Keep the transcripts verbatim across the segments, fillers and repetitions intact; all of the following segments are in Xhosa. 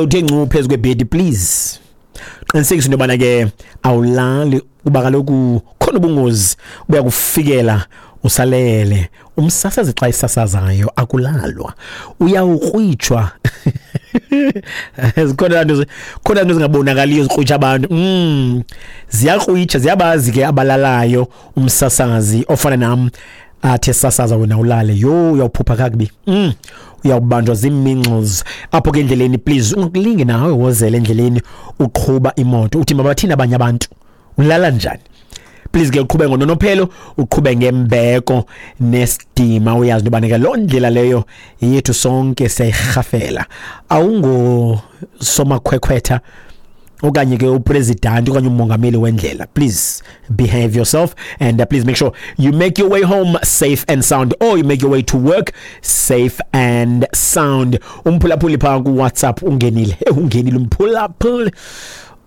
Uthe ncu phezu kwebhedi, please qinisekisa into yobana ke awulali, kuba kaloku khona ubungozi buyakufikela usalele. Umsasazi xa isasazayo akulalwa, uyawukrwitshwa. Zikhona nto, khona nto zingabonakaliyo zikrwitsha abantu. mm ziyakrwitsha, ziyabazi ke abalalayo. Umsasazi ofana nam athi esasaza wena ulale, yho, uyawuphupha kakubi. mm uyawubanjwa zii-measles apho ke endleleni. Please ungakulinge nawe wozela endleleni uqhuba imoto uthi mabathini abanye abantu, ulala njani? Please ke uqhube ngononophelo, uqhube ngembeko nesidima, uyazi into yobana ke loo ndlela leyo yethu sonke, siyayirhafela. Awungosomakhwekhwetha okanye ke upresident okanye umongameli wendlela. Please behave yourself and uh, please make sure you make your way home safe and sound or you make your way to work safe and sound. Umphulaphuli phaa ku-WhatsApp ungenile, ungenile umphulaphuli,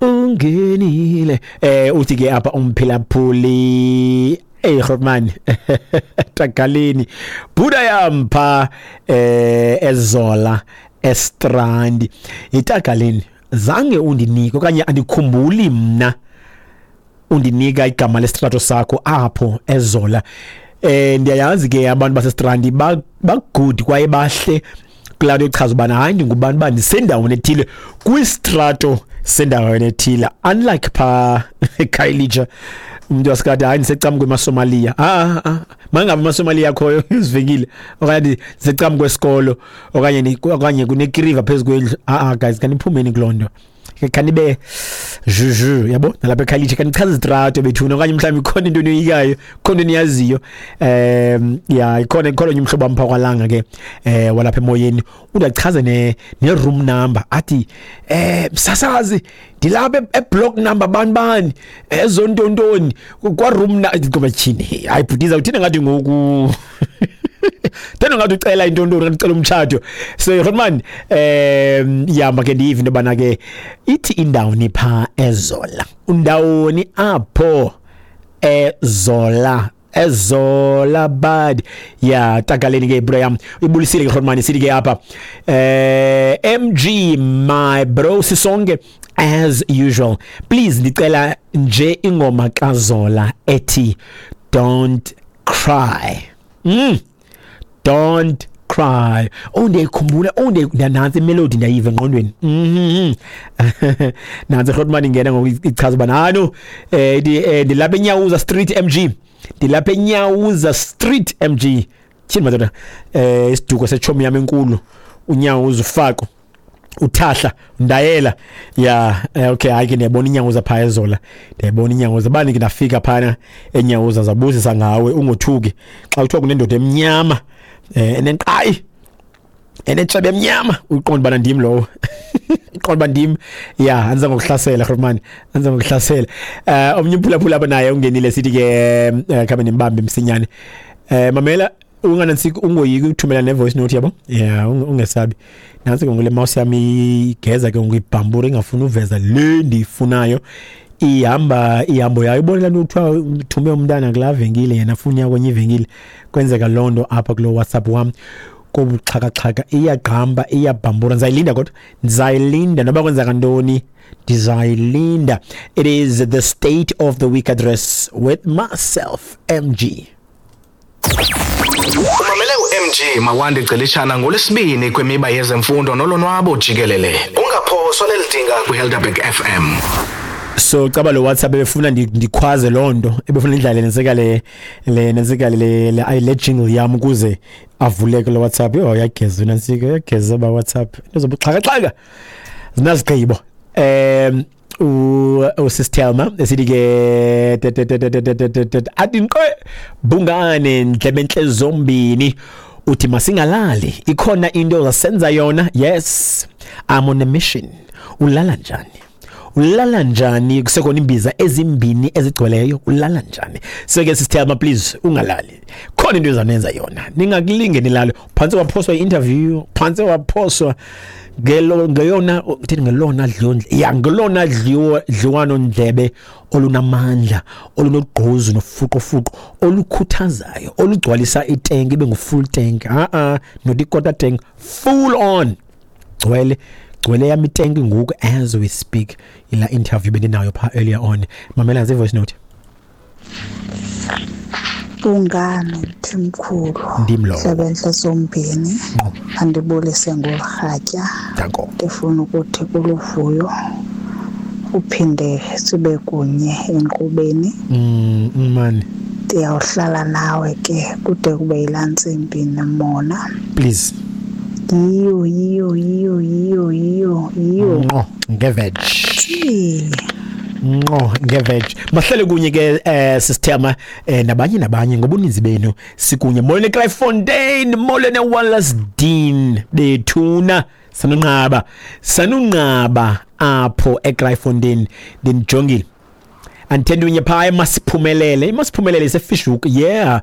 ungenile. eh uthi ke apha umphulaphuli, "Hey Grootman, tagaleni buda yam pha eh eZola eStrand, itagaleni zange undinike okanye andikhumbuli mna undinika igama lesitrato sakho apho eZola. eh ndiyayazi ke abantu baseStrand bagood kwaye bahle kulaa nto ichaza ubana hayi, ndingubani uba ndisendaweni ethile kwistrato sendaweni ethile, unlike phaa eKhayelitsha, umntu wasikade, hayi, ndisecam kwemaSomaliya. Ah ah, mangabe amaSomaliya akhoyo izivenkile, okanye ndisecam kwesikolo, okanye okanye kunekiriva phezu kwendlu. Ah ah, guys, kaniphumeni kuloo nto, khanibe juju yabo nalapha eKhayelitsha, khanichaza izitrato bethuna, okanye mhlawumbi ikhona into enoyikayo, khona into eniyaziyo. um ya ikhona ikhona onye umhlobo wam phaa kwaLanga ke, eh walapha emoyeni, udachaze ne ne-room number, athi, eh msasazi, ndilapha eblock number bani bani ezontontoni kwa room na." Ngoba tyhini, hayi bhutiza, uthini ngathi ngoku tena ngathi ucela intontoni, ngathi ucela umtshato. So Grootman, um yama ke ndiyive into yobana ke ithi indawoni phaa eZola, undawoni apho eZola, eZola bad ya tagaleni ke bro yam. Ibulisile ke Grootman, sithi ke apha, eh M G my bro, sisonke as usual. Please ndicela nje ingoma kaZola ethi "Don't Cry". mm "Don't Cry". Oh, ndiyayikhumbula. Oh, nantsi imelody, ndiyayiva engqondweni. mhm nantsi Grootman ingena ngoku, ichaza uba nano eh ndilapha eNyawuza Street M G, ndilapha eNyawuza Street M G. Tyhini madoda, eh isiduko sechomi yam enkulu uNyawuza, ufako uthahla ndayela ya. Okay, hayi ke ndiyabona iNyawuza phaa eZola, ndiyayibona iNyawuza. Bani ke ndafika phana eNyawuza, zabuzisa ngawe. Ungothuki xa kuthiwa kunendoda emnyama eh enenqayi enetshebe emnyama, uqonda bana ndim lowo, uqonda uba ndim ya. Andiza ngokuhlasela Grootman, andiza ngokuhlasela. eh omnye umphulaphula apha naye ungenile, sithi ke eh, khabe nimbambe msinyane. eh mamela unganantsiki, ungoyiki uthumela ne-voice note yabo ya, ungesabi. Nantsi ke ngule mouse yami igeza ke ngibhambura, ingafuni uveza le ndiyifunayo, ihamba ihambo yayo. Ibona laa nto kuthiwa uthume umntana kulaa venkile, yena afuna uya kwenye ivenkile. Kwenzeka loo nto apha kulo WhatsApp wam kobuxhakaxhaka, iyagqamba, iyabhambura. Ndizayilinda kodwa, ndizayilinda noba kwenzeka ntoni, ndizayilinda. It is the State of the Week Address with myself, M G. Umamele u-M G Mawande Celishana ngoLwesibini kwimiba yezemfundo nolonwabo jikelele. Ungaphoswa leli dinga kwiHelderberg F M. So caba lo WhatsApp ebefuna ndikhwaze loo nto, ebefuna indlela nensika le le nensika le le le jingle yam ukuze avuleke lo WhatsApp. Yho, yageza nansika, yageza ba WhatsApp, into zobuxhakaxhaka zinazigqibo. um usisThelma esithi ke athi nqe bungane ndlebe entle zombini, uthi masingalali, ikhona into ozasenza yona. Yes, I'm on a mission. Ulala njani? Ulala njani kusekhona imbiza ezimbini ezigcweleyo? Ulala njani? So ke sisThelma, please ungalali, khona into ezanenza yona, ningakulinge nilale. Phantse waphoswa i-interview, phantse waphoswa ngelo ngeyona uthini, ngelona dliwo ya, ngelona dliwo dliwano ndlebe olunamandla, olunogqozu nofuqofuqo, olukhuthazayo, olugcwalisa itenki ibe ngu-full tank, a a not i-quarter tank, full on, gcwele. Igcwele yam itenki ngoku as we speak. Ila interview bendinayo pha earlier on. Mamela nje voice note. Ungane Mthimkhulu. Ndim lo. Sebenhle zombini. Andibulise ngorhatya. Danko. Ndifuna ukuthi kuluvuyo uphinde sibe kunye enkqubeni. Mm man. Ndiyawuhlala nawe ke kude kube yilantsimbi nemona. Please. Yiyo yiyo yiyo yiyo yiyo yiyo. Ngqo ngeveg. Ngqo ngeveg. Mahlale kunye ke eh sisithema eh, nabanye nabanye ngobuninzi benu sikunye. Molweni Kraaifontein, molweni Wallace Dean bethuna sanunqaba. Sanunqaba apho eKraaifontein ndinijongile. Anthendunye phaa eMasiphumelele, iMasiphumelele iseFishhoek. Yeah,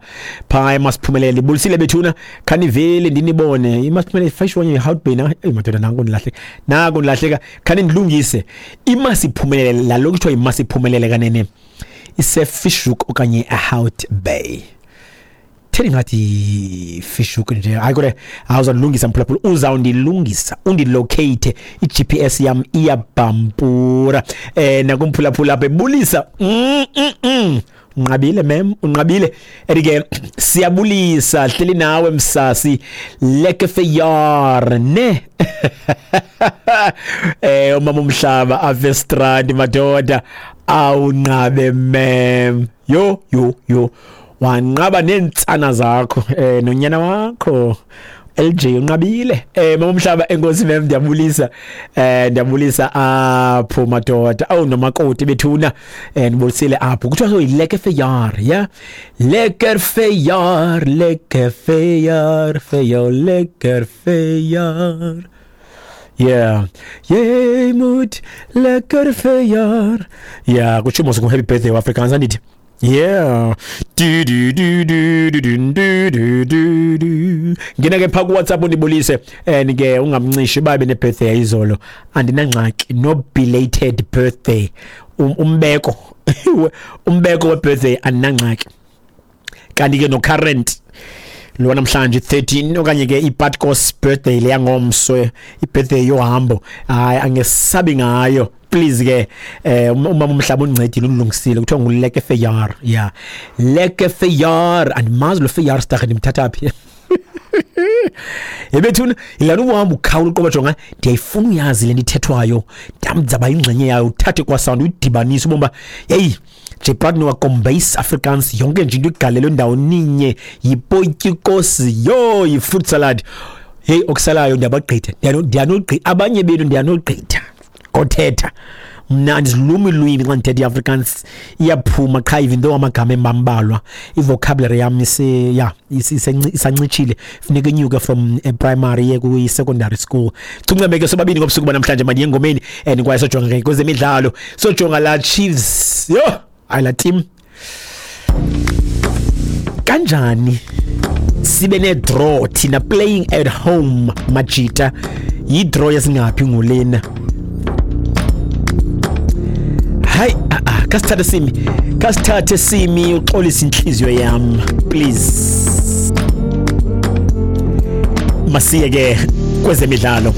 phaa eMasiphumelele. Bulisile bethuna, khanivele ndinibone. iMasiphumelele Fishhoek Hout Bay na. Eyi madoda nanku ndilahleka. Nanku ndilahleka. Khanindilungise. iMasiphumelele lalo kuthiwa iMasiphumelele kanene iseFishhoek okanye eHout Bay. Theni ngathi Fishhoek nje. Hayi kodwa awuzandilungisa mphulaphula, uzawundilungisa, undilocate, i-G P S yam iyabhampura. Eh nakumphulaphula apha ebulisa. Mm mm mm. Unqabile mem, unqabile. Ethi ke siyabulisa, hleli nawe msasi. Lekker verjaar, ne? Eh umama umhlaba Avestrand madoda, awunqabe mem. Yo yo yo. Wanqaba neentsana zakho eh nonyana wakho L J unqabile. Eh mama umhlaba enkosi mem, ndiyabulisa. Eh ndiyabulisa apho madoda. Awu nomakoti bethuna eh ndibulisile apho. Kuthiwa so yilekker verjaar, ja? Lekker verjaar, lekker verjaar, vir jou lekker verjaar. Yeah. Jy moet lekker verjaar. Ja, kutsho mos happy birthday Afrikaans andithi. Yeah. Du du du du du du du du du. Ngena ke pha ku WhatsApp undibulise and ke ungamncishi babe ne birthday izolo. Andinangxaki no belated birthday. Um, umbeko. Umbeko we birthday andinangxaki. Kanti ke no current lo namhlanje thirteen okanye ke iPatkos birthday leya ngomso, ibirthday yohambo. Hayi angesabi ngayo. Please ke eh umama umhlaba uncedile ulungisile kuthiwa ngulekker verjaar. Yeah. Lekker verjaar andimazi lo verjaarsdag ndimthatha phi. Ebethuna ilana uhamba ukhawula uqoba jonga ndiyayifuna uyazi le ndithethwayo ndamdzaba ingxenye yayo uthathe kwa sound uyidibanise ubomba hey nje partner wa Afrikaans yonke nje into igalelo ndawo ninye yipotyikosi yo yi-fruit salad. Hey okusalayo ndiyabagqitha ndiyanogqitha abanye benu ndiyanogqitha kothetha mna andizilumi ilwimi xa ndithetha iAfrikaans iyaphuma qha even though amagama emambalwa ivocabulary yam ise ya isancitshile funeka inyuke from primary ye kwi-secondary school. Chuncame ke sobabini ngobusuku banamhlanje mandiye engomeni and kwaye sojonga ke kwezemidlalo sojonga la Chiefs yo hayi la team kanjani sibe ne draw thina playing at home majita yi-draw yesingaphi ngolena. Hayi ah kasithathe simi kasithathe simi uxolisa inhliziyo yam please. Masiye ke kwezemidlalo.